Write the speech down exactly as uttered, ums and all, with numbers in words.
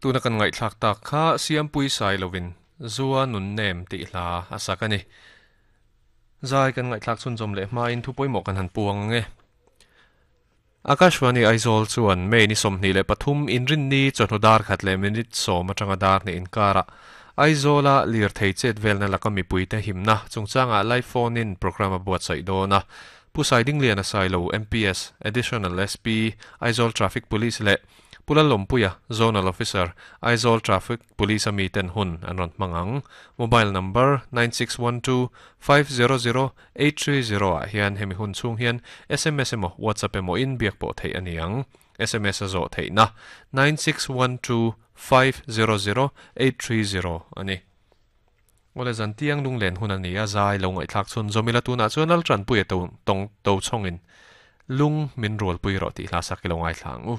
Tuna kan ngaihthlak tak kha Siampui Sailovin Zua nun nem tih hla a sak a ni. Zai kan ngaihthlak chhunzawm leh hmain thu pawimawh kan han puang ang e. Akashvani Aizawl chuan May ni sawmhnih leh pathum inrinni chawhnu dar khat leh minute sawm atanga dar hnih inkarah Aizawla lirthei chet velna laka mipuite himna chungchangah live phone in program a buatsaih dawn a. Pu Saidingliana Sailo M P S Additional S P Aizawl Traffic Police leh Pu Lalawmpuia Zonal Officer Aizawl Traffic Police ami ten hun an rawn hmang ang. Mobile number nine six one two five zero zero eight three zero ah hian hemi hun chhung hian S M S emaw WhatsApp emaw in biak pawh theih a ni ang. S M S a zawh theihna nine six one two five zero zero eight three zero a ni. Awle zan tiang lunglen hun a ni a zai lo ngaihthlak chhun zawmila tunah chuan Laltanpuia to tawng to chhawngin lung min rualpui rawh tih hla sak i lo ngaithla ang u.